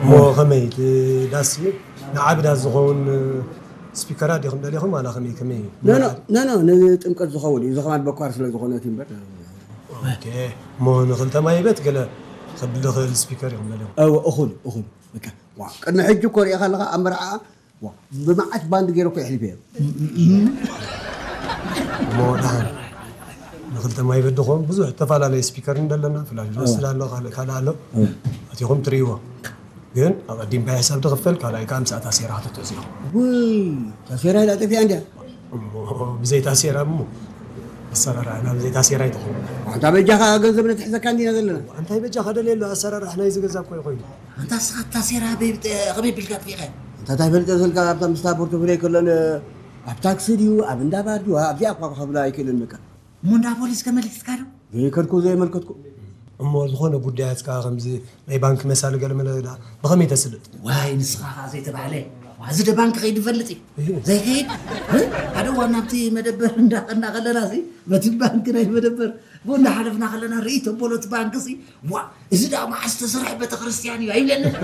እሞ ከመይ እቲ ዳስ እዩ ንዓቢ ዳስ ዝኸውን ስፒከራት ዲኹም ደሊኹም ዋላ ከመይ ከመይ እዩ? ኖ ኖ ኖ ኖ፣ ንጥምቀት ዝኸውን እዩ። እዚ ከማን በኳር ስለ ዝኾነ እቲ እምበር። ኦኬ። እሞ ንክልተ ማይበት ገለ ከብል ዝኽእል ስፒከር ኢኹም ደሊኹም? እወ፣ እኹል እኹል። በቃ፣ ዋ፣ ቅድሚ ሕጂ እኮ ሪኢኻ ኣለኻ ኣብ መርዓ፣ ዋ፣ ብመዓት ባንድ ገይረ እኮ የሕሊፈ እየ። እሞ ደሓን ንክልተ ማይበት ድኾን ብዙሕ ዝተፈላለየ ስፒከር እንደለና ፍላጅ ዝወስድ ኣሎ፣ ካልእ ካልእ ኣሎ። እቲኹም ትርእይዎ። ግን ኣቐዲምካ ሕሳብ ትኽፈል፣ ካልኣይ ከዓ ምስኣ ታሴራ ክትትእዝ ኢኹም። ውይ፣ ታሴራ ኢላ ጠፊኣ እንድያ። እሞ ብዘይ ታሴራ እሞ ኣሰራርሓና ብዘይ ታሴራ ኣይትኸውን። ኣንታ በጃኻ ገንዘብ ነትሕዘካ እንዲና ዘለና። እንታይ በጃኻ ደልየሉ ኣሰራርሓ ናይዚ ገዛ እኮ ይኾይኑ። ኣንታ እስኻ ታሴራ በይብጠ-፣ ከመይ ቢልካ ጥፊእኻ? ኣንታ እንታይ ፈልጠ ዘልካ ኣብታ ምስታ ፖርቶፍሌ ከሎን ኣብ ታክሲ ድዩ ኣብ እንዳ ባር ድዩ ኣብዚኣ እኳ ክኸፍላ ኣይክእልን በቃ። እሞ እንዳ ፖሊስ ከመልኪትካ ዶ? ዘይከድኩ ዘየመልከትኩ። እሞ ዝኾነ ጉዳያት ከዓ ከምዚ ናይ ባንክ መሳሊ ገለ መለ ደኣ ብኸመይ ተስልጥ? ዋይ ንስኻ ከዓ ዘይተባህለ። ዋ፣ እዚ ደ ባንክ ከይዱ ይፈልጥ እዩ። ዘይከይድ? እ? ሓደ እዋን ናብቲ መደበር እንዳኸና ከለና ሲ በቲ ባንክ ናይ መደበር ብኡ እንዳሓለፍና ከለና ርእይ ተበሎ እቲ ባንክ ሲ ዋ፣ እዚ ደኣ መዓስ ዝተሰርሐ ቤተክርስትያን እዩ ኣይብለንን።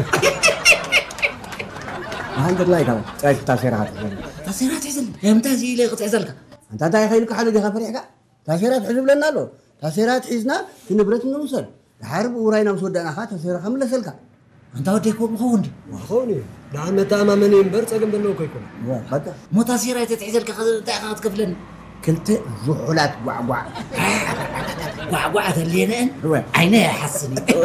መሃንደር ላይ ካብ ጫይ ታሴራ ትሕዘኒ። ታሴራ ትሕዘኒ? እንታይ እዚ ኢለ ክትሕዘልካ? ኣንታ እንታይ ከይልካ ሓሉ ዲኻ ፈሪሕካ? ታሴራ ትሕዝ ብለና ኣሎ። ታሴራ ትሒዝና እቲ ንብረት ንውሰድ። ድሓር ብኡ ራይና ምስ ወዳእና ኸዓ ታሴራ ከምለሰልካ። ኣንታ ወደይ ከምኡ ኸውን ድዩ? ክኸውን እዩ። ደኣ መተኣማመኒ እምበር ጸገም ዘለዎ እኮ ኣይኮነን። እዋ፣ በቃ። ሞታ ሴራ ተትሒዘልካ ከ-፣ እንታይ ኢኻ ክትከፍለኒ? ክልተ ዝሑላት ጓዕጓዕ። ጓዕጓዕ ተልየነአን እወ። ዓይነ ይሓስን እዩ።